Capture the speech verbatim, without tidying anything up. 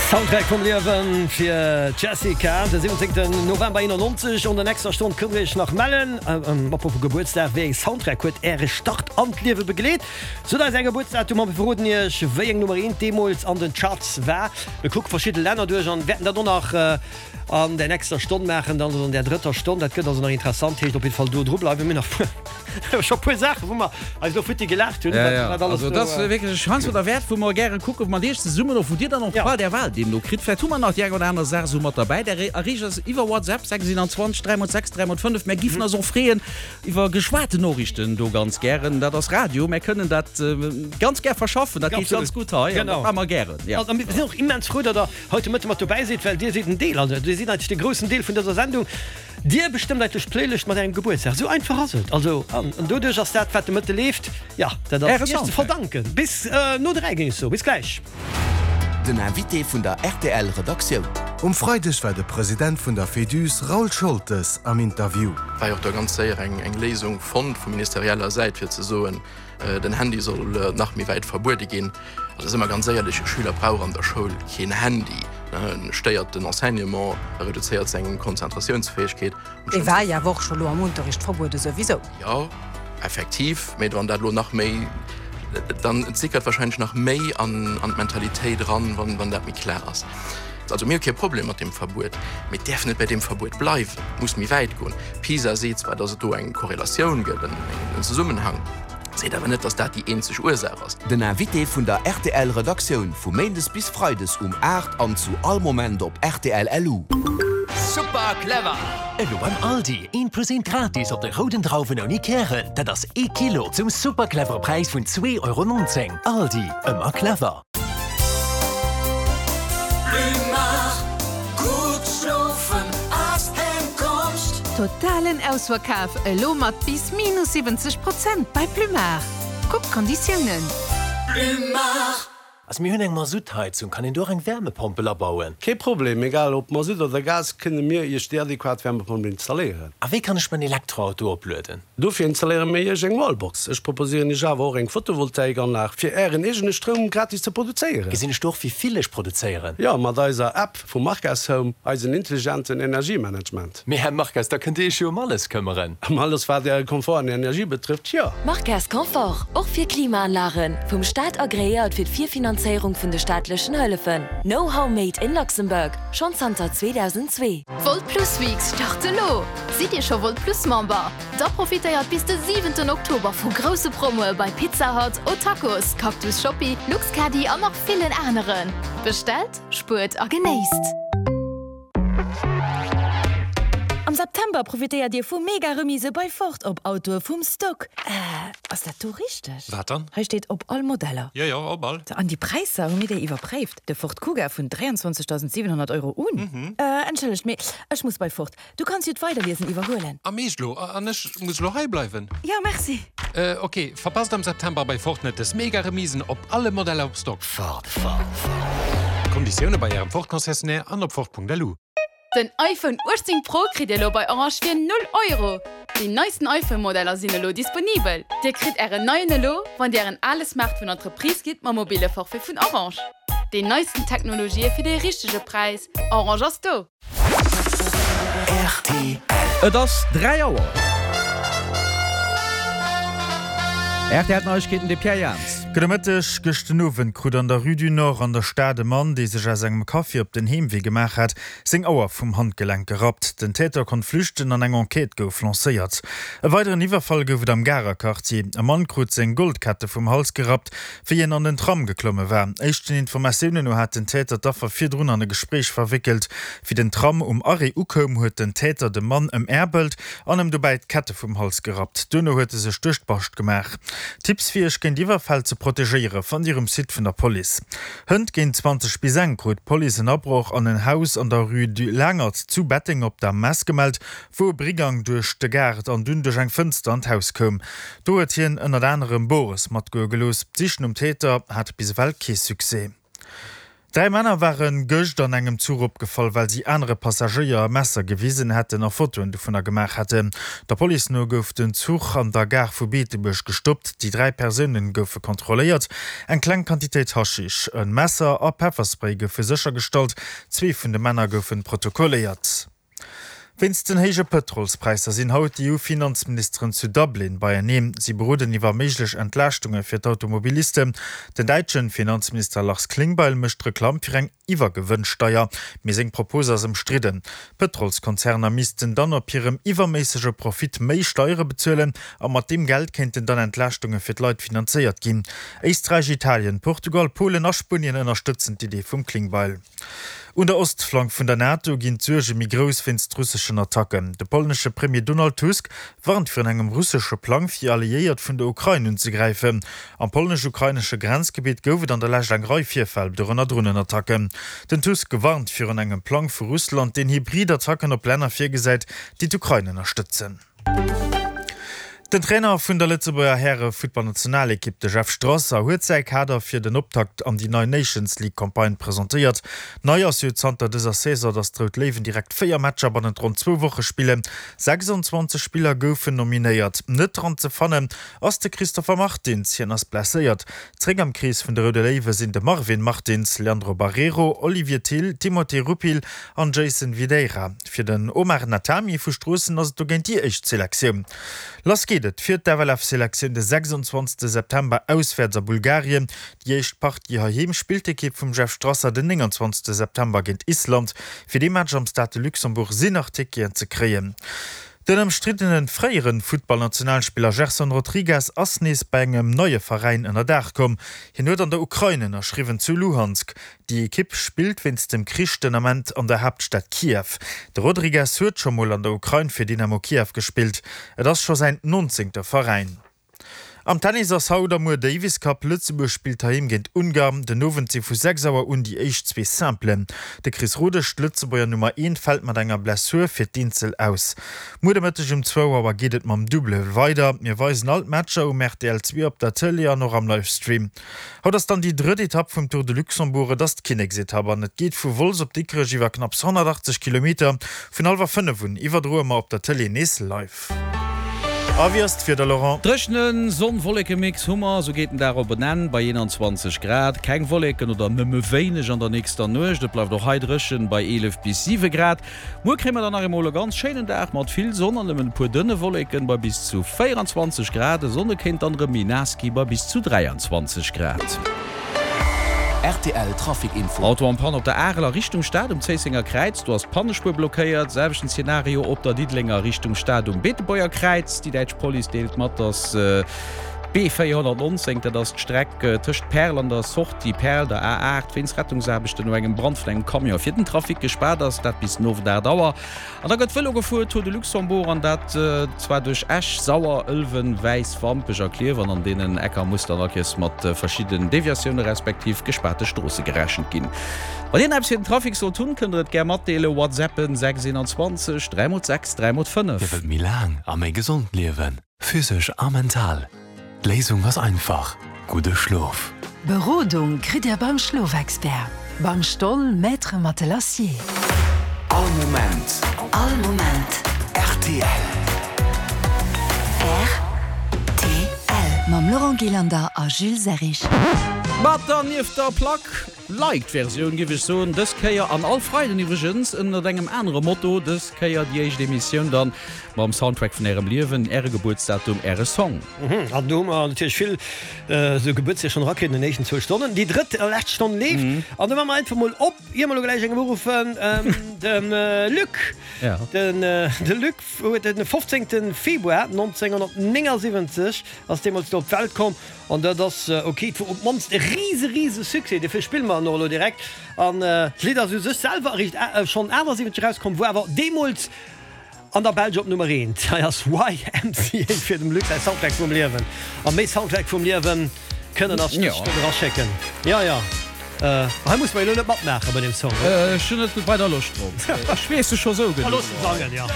Soundtrack vum Liewen fir d'Jessica, de siwwenzéngten November eenannonzeg. An der nächster Stonn kënnt dir iech nach mellen. Apropos Gebuertsdag, wéi eng Soundtrack huet äre Start an d'Liewe begleet? Sot eis är Gebuertsdatum a mir verroden iech, wéi eng Nummer eent deemools an den Charts war. Mir kucke verschidde Länner duerch an wäerten dat och nach an der nächster Stonn maachen, dann also an der drëtter Stonn. Dat gëtt also nach interessant. Heescht op jidde Fall do dru bleiwen. Mir hunn nach scho puer Saachen, wou mer eis elo futti gelaacht hunn, Ja, wat ja. wat alles Also do. dat ass wierklech heiansdo derwäert, wou mer gäre kucken, wou mer iech zesummen och, wou Dir dann och d'Qual der Wahl deemno kritt. Vläicht hu mer nach déi eng oder aner Saach esou mat derbäi. Der erreecht eis iwwer WhatsApp, sechs siewenundzwanzeg dräi mol sechs dräi mol fënnef. Mär giffen eis och freeën iwwer geschwaten Noriichten do ganz gären. Dat ass Radio, mär kënnen dat ganz gär verschaffen, dat geet ganz gutt hei an dat maache mer gären. Genau. A mir sinn och immens frou, datt Der haut de Mëtte mat dobäi sidd, well Dir sidd en Deel, also Dir sidd eigentlech de groussen Deel vun dëser Sendung. Dir bestëmmt eigentlech d'Playlëscht mat Ärem Gebuertsdag. Esou einfach ass et. Also, an doduerch ass dat, wat de Mëtte leeft, jo, dat ass Iech ze verdanken. Bis no dräi, géing ech soen. Bis gläich. Den Invité vun der rtl Redaktioun. Um Freideg war de President vun der Féduse Raoul Scholtes am Interview. War jo och da ganz séier eng Léisung fonnt vu ministerieller Säit fir ze soen, den Handy soll nach méi wäit verbuede ginn. Also si mer ganz éierlech, e Schüler brauch an der Schoul keen Handy. En stéiert den Enseignement, e reduzéiert seng Konzentratiounsfäegkeet. Dee war jo awer och scho lo am Unterricht verbuede souwisou. Jo, effektiv, mee wann dat elo nach méi, dann et sickert wahrscheinlech nach méi an d'Mentalitéit eran, wann dat méi klar ass. Also mir hu kee Problem mat deem Verbuet, mee et däerf net bei deem Verbuet bleiwen, et muss méi wäit goen. PISA seet zwar, datt et do eng Korrelatioun gëtt, en Zesummenhang, seet awer net, datt dat déi eenzeg Ursaach ass. Den Invité vun der rtl Redaktioun vu Méindes bis Freides um aacht an zu all Moment op rtl LU. Super clever! Elo beim Aldi, eent plus eent gratis op de rouden Drauwen ouni Kären. Dat ass ee Kilo zum super clevere Präis vun zwee Euro nonzéng. Aldi, ëmmer clever! Totalen Ausverkaf elo mat bis minus siwwenzeg Prozent bei Plumar. Kuckt d'Konditiounen. Also mir hunn eng Masuttheizung, kann een do och eng Wärmepompel abauen? Kee Problem, egal ob Masutt oder Gas, kënne mir Iech déi adequat Wärmepompel installéieren. A wéi kann ech mäin Elektroauto oplueden? Dofir installéiere mir Iech eng Wallbox. Ech proposéieren Iech awer och eng Photovoltaikanlag, fir Ären eegene Stroum gratis ze produzéieren. Gesinn ech do och wéi vill ech produzéieren? Jo, mat eiser App vu Marques Home, eisen intelligenten Energiemanagement. Mee Här Marques, da kënnt Dir Iech jo ëm alles këmmeren. Ëm alles wat Äre Komfort an Energie betrëfft, jo. Marques Confort, och fir Klimaanlagen, vum Staat agreéiert fir d'Virfinanzéierung vun de staatlechen Hëllefen. Know-how made in Luxembourg, schonn zanter zweedausendzwee. Volt Plus Weeks start elo! Sidd Dir scho Volt Plus Member? Da profitéiert bis de siwenten Oktober vu grousse Promoe bei Pizza Hut, O'Tacos, Cactus Shoppi, Luxcaddy an nach villen aneren. Bestellt, spuert a genéisst! Am September profitéiert Dir vu mega Remise bei Ford op Autoe vum Stock. Äh, ass dat do richteg? Wat dann? Hei steet op all Modeller. Jo, jo, op all. An déi Präisser, hu mir déi iwwerpréift? De Ford Kuga vun dräianzwanzegdausendsiwenhonnert Euro un. Mhm. Äh, entschëllegt, mee ech muss bei Ford. Du kanns jo d'Weiderliesen iwwerhuelen. Am Eescht lo? An ech muss lo hei bleiwen? Jo, merci. Äh, ok, verpasst am September bei Ford net dës mega Remisen op alle Modeller op Stock. Ford, Ford, Ford. Konditioune bei Ärem Ford-Concessionnaire an op Ford.lu. Den iPhone uechtzéng Pro kritt Dir elo bei Orange fir null Euro! Déi neisten iPhone-Modeller sinn elo disponibel. Dir kritt Ären neien elo, wann Dir Ären ale Smartphone an d'Reprise gitt mam mobile Forfait vun Orange. Déi neisten Technologië fir dee richtege Präis, Orange ass do! Rtl. Et ass dräi Auer. Rtl Neiegkeeten, de Pierre Jans. Gudde Mëtteg. Gëscht den Owend krut an der Rue du Nord an der Stad e Mann, dee sech aus engem Café op den Heemwee gemaach hat, seng Auer vum Handgelenk gerappt. Den Täter konnt flüchten an eng Enquête gouf lancéiert. E weideren Iwwerfall gouf et am Garer Quartier. E Mann krut seng Goldkette vum Hals gerappt, wéi en an den Tram geklomme war. Éischten Informatiounen no hat den Täter d'Affer virdrun an e Gespréich verwéckelt. Wéi den Tram um Arrêt ukoum, huet den Täter de Mann ëmäerbelt an ëm dobäi d'Kette vum Hals gerappt. Duerno huet e sech duerch d'Bascht gemaach. Tipps fir iech géint Iwwerfäll ze protegéiere fannt dir um Site vun der Police. Hënt géint zwanzeg bis eng krut d'Police en Abroch an en Haus an der Rue du Langert zu Betteng op der Mess gemellt, wou e Brigang duerch de Gaart an dunn duerch eng Fënster an d'Haus koum. Do huet hien ënnert anerem Bores matgoe gelooss. D'Sich nom Täter hat bis ewell kee Succès. Dräi Männer ware gëscht an engem Zuch opgefall, well si anere Passagéier e Messer gewisen hätten a Fotoen dovunner gemaach hätten. Der Police no gouf den Zuch an der Gare vu Beetebuerg gestoppt. Déi dräi Persoune goufe kontrolléiert. Eng kleng Quantitéit Haschisch, e Messer a Pefferspray goufe séchergestallt. Zwee vun de Männer goufe protokolléiert. Wéinst den héije Pëtrolspräisser sinn haut d'EU-Finanzministeren zu Dublin beieneen. Si beroden iwwer méiglech Entlaaschtunge fir d'Automobilisten. Den däitsche Finanzminister Lars Klingbeil mécht Reklamm fir eng Iwwergewënnsteier, mee seng Propos ass ëmstridden. D'Pëtrolskonzerner missten dann op hirem iwwerméissege Profit méi Steiere bezuelen a mat deem Geld kéinten dann Entlaaschtunge fir d'Leit finanzéiert ginn. Éisträich, Italien, Portugal, Polen a Spuenien ënnerstëtzen d'Idee vum Klingbeil. Un der Ostflank vun der NATO ginn d'Suerge méi grouss wéinst russeschen Attacken. De polnesche Premier Donald Tusk warnt virun engem russesche Plang, fir Alliéiert vun der Ukrain unzegräifen. Am polnesch-ukrainesche Grenzgebitt gouf et an der Lescht eng Rei Virfäll, dorënner Dronenattacken. Den Tusk warnt virun engem Plang vu Russland, deen Hybrid-Attacken op Länner virgesäit, déi d'Ukrain ënnerstëtzen. Den Trainer vun der Lëtzebuerger Häre-Futtballnationalekipp, de Jeff Strasser, huet säi Kader fir den Optakt an déi nei Nations League Campagne presentéiert. Nei ass jo zanter dëser Saison, datt d'Rout Léiwen direkt véier Matcher bannent ronn zwou Woche spillen. sechsundzwanzeg Spiller goufen nominéiert. Net dran ze fannen ass de Christopher Martins, hien ass blesséiert. Zréck am Krees vun de Roude Léiwe sinn de Marvin Martins, Leandro Barreiro, Olivier Thill, Timothée Rupil an Jason Videira. Fir den Omar Natami vu Stroossen ass et dogéint déi éischt Selektioun. Lass geet et fir d'FLF-Selektioun de sechsundzwanzegste September auswäerts a Bulgarien. Déi éischt Partie heiheem spillt d'Ekipp vum Jeff Strasser den nénganzwanzegste September géint Island. Fir dee Match am Stade de Luxembourg sinn nach Ticketen ze kréien. Den ëmstriddene fréiere Futtballnationalspiller Gerson Rodrigues ass nees bei engem neie Veräin ënner Daach komm. Hien huet an der Ukrain ënnerschriwwen, zu Luhansk. Déi Ekipp spillt wéinst dem Krich den Ament an der Haaptstad Kiew. De Rodrigues huet scho mol an der Ukrain fir Dynamo Kiew gespillt. Et ass scho säin nonzéngte Veräin. Am Tennis ass haut a muer Davis Cup. Lëtzebuerg spillt heiheem géint Ungarn. Den Owend si vu sechs Auer un déi éischt zwee Simplen. De Chris Rodesch, d'Lëtzebuerger Nummer eent, fält mat enger Blessur fir d'Eenzel aus. Muer de Mëtteg um zwou Auer geet et mam Double weider. Mir weisen all d'Matcher um rtl zwee op der Tëlee an och am Livestream. Haut ass dann déi drëtt Etapp vum Tour de Luxembourg. Et ass d'Kinneksetapp an et geet vu Wolz op Dikrech iwwer knapps honnertachtzeg Kilometer. Vun hallwer fënnef un iwwerdroe mer op der Tëlee nees live. A wéi ass d'Wieder, Laurent? Dréchene Sonn-Wolleke-Mix hu mer, esou geet den Dag op en Enn bei eenanzwanzeg Grad. Keng Wolleken oder nëmme wéineg an der nächster Nuecht. Et bleift och hei dréchen bei eelef bis siwe Grad. Muer kréie mer dann nach eemol e ganz schéinen Dag mat vill Sonn an nëmmen e puer dënne Wolleken bei bis zu véieranzwanzeg Grad. E Sonne kéint dann erëm méi naass gi bei bis zu dräianzwanzeg Grad. Rtl Trafic Info. Auto en panne op der Arel a Richtung Stad um Zéissenger Kräiz, do ass d'Pannespuer blockéiert. Selwechten Zenario op der Diddelenger Richtung Stad um Beetebuerger Kräiz. Déi däitsch Police deelt mat, dass d'B véierhonnertnonzéng, dat ass d'Streck tëscht Perl an der Sortie Perl, der A aacht, wéinst Rettungsaarbechten no engem Brand vun engem Camion fir den Trafic gespaart ass, dat bis den Owend aacht Auer. An da gëtt Vëlo gefuer, Tour de Luxembourg, an dat zwar duerch Esch, Sauer, Ëlwen, Wäiss, Wampech a Klierf. An an deenen Ecker muss dann all Kéiers mat verschidden Deviatioune respektiv gespaarte Stroosse gerechent ginn. Wann dir eppes fir den Trafic sollt hunn, kënnt der et gär matdeelen, WhatsAppen sechs eenanzwanzeg dräi mol sechs dräi mol fënnef. Dir wëllt méi laang a méi gesond liewen, physesch a mental? D'Léisung ass einfach, gudde Schlof. Berodung kritt Dir beim Schlofexpert, beim Stoll Maître Matelassier. All Moment. All Moment. Rtl. Rtl. Mam Laurent Gillander a Jules Serrig. Mat der nieft der Plack Light-Versioun, giff ech soen, dës Kéier an all Freiden iwwregens ënnert engem anere Motto, dës Kéier déi éischt Emissioun dann mam Soundtrack vun ärem Liewen, äre Gebuertsdatum, äre Song. An do hu mer natierlech vill esou Gebuertsdeeg schonn erakritt an den éischten zwou Stonnen. Déi drëtt a lescht Stonn leeft an do maache mer einfach mol op, ier mer elo gläich engem uruffen, de Luc. De Luc huet den fofzéngte Februar nonzénghonnertnéngasiwwenzeg ass deemools do op d'Welt komm. An dat ass ok, et wor op d'mannst e rise rise Succès, dofir spille mer en och elo direkt. An d'Lidd ass u sech selwer eréischt schonn achtasiwwenzeg erauskomm, wor awer deemools an der Belsch op Nummer eent. Hei ass Y M C A fir dem Luc säi Soundtrack vum Liewen. A méi Soundtrack vum Liewen kënnen ass dës Stonn eraschécken. Jo, jo, hei musse mer elo net matmaache bei deem Song, oder? Ech hunn net weider Loscht drop. Ech weess se scho sou genuch. Looss en sangen, jo.